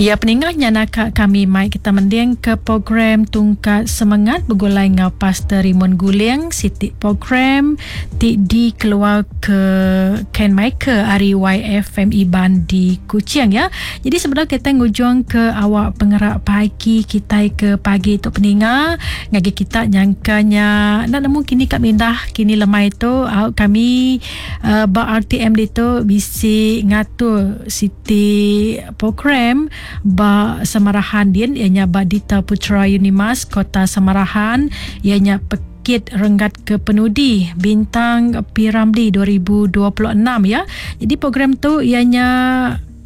Ya peningah nya naka kami mai kita mending ke program Tungkat Semengat begulai enggau Pastor Raymond Guling siti program ti dikeluar ke Ken Michael ari YFM Iban di Kuching ya. Jadi sebedau kita ngujung ke awak pengerak pagi kitai ke pagi tu peninga ngagai kita nyangka nya enda nemu kini ka mindah kini lemai tu au kami uh, ba RTM ditu bisi ngatur siti program ba Samarahan din iya nya ba Dita Putra Unimas Kota Samarahan iya nya pekit renggat ke penudi Bintang P Ramlee 2026 ya. Jadi program tu iya nya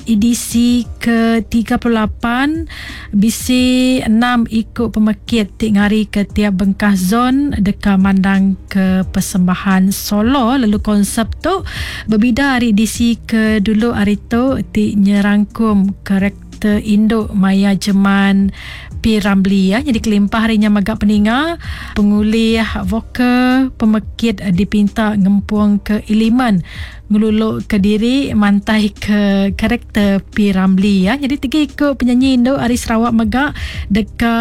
edisi ke 38 bisi 6 iku pemekit ti ngarika tiap bengkah zon deka mandangka persembahan solo lalu konsep tu Bebida ari edisi ke dulu ari tu ti nyerangkum karakter indu maya jeman P. Ramlee ya. Nyadi kelimpah ari nya mega peninga pengulih vokal pemekit dipinta ngempungka elemen ngeluluka diri mantaika karakter P. Ramlee ya. Nyadi tiga iku penyanyi indu ari Sarawak mega deka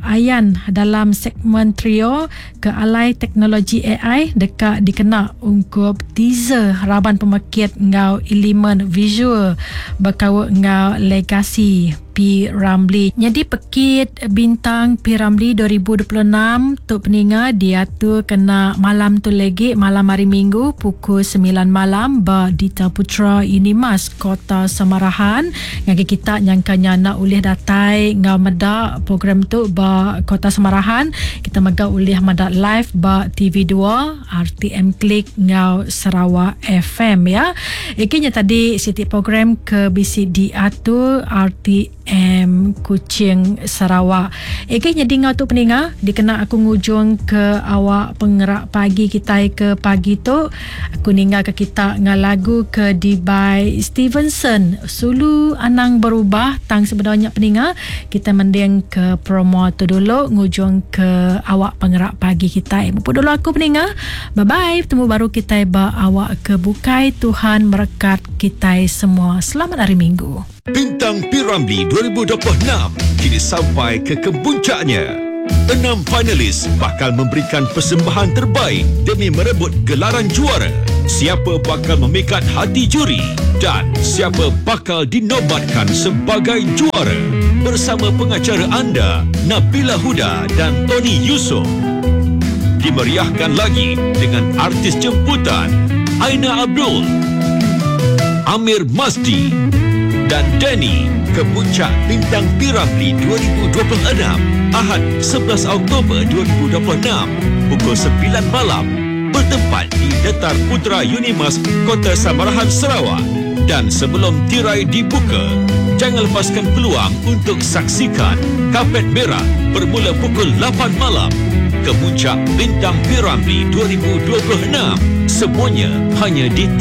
ayan dalam segmen trio ke alai teknologi ai deka dikena ungkup teaser raban pemekit enggau elemen visual bekaul enggau legasi P. Ramlee. Nyadi pekit Bintang P. Ramlee 2026 tu peninga diatur kena malam tu legi malam hari Minggu pukul semilan malam ba Dita Putra Unimas Kota Samarahan. Ngagai kita nyangka nya enda ulih datai enggau meda program tu ba Kota Samarahan, kita mega ulih meda live ba TV dua, RTM Klik enggau Sarawak FM ya. Igi nya tadi siti program ke bisi diatur RTM Kuching Sarawak. Igi nyadi enggau tu peninga dikena aku ngujung ke awak pengerak pagi kitai ke pagi tu. Aku ninggal ke kita enggau lagu ke dibai Stevenson Sulu Anang Berubah tang sebedau nya peninga kita mending ke promo tu dulu ngujung ke awak pengerak pagi kitai. Mupuk dulu aku peninga. Bye bye betemu baru kitai ba awak ke bukai Tuhan merekat kitai semua. Selamat hari minggu. Bintang P. Ramlee 2026 kini sampai ke kemuncaknya. Enam finalis bakal memberikan persembahan terbaik demi merebut gelaran juara. Siapa bakal memikat hati juri dan siapa bakal dinobatkan sebagai juara? Bersama pengacara anda, Nabila Huda dan Tony Yusof. Dimeriahkan lagi dengan artis jemputan Aina Abdul, Amir Masdi dan Danny ke Puncak Bintang P. Ramlee 2026 Ahad 11 Oktober 2026 pukul 9 malam bertempat di Detar Putra Unimas Kota Samarahan Sarawak dan sebelum tirai dibuka jangan lepaskan peluang untuk saksikan Kapet Merah bermula pukul 8 malam ke Puncak Bintang P. Ramlee 2026 semuanya hanya di TV.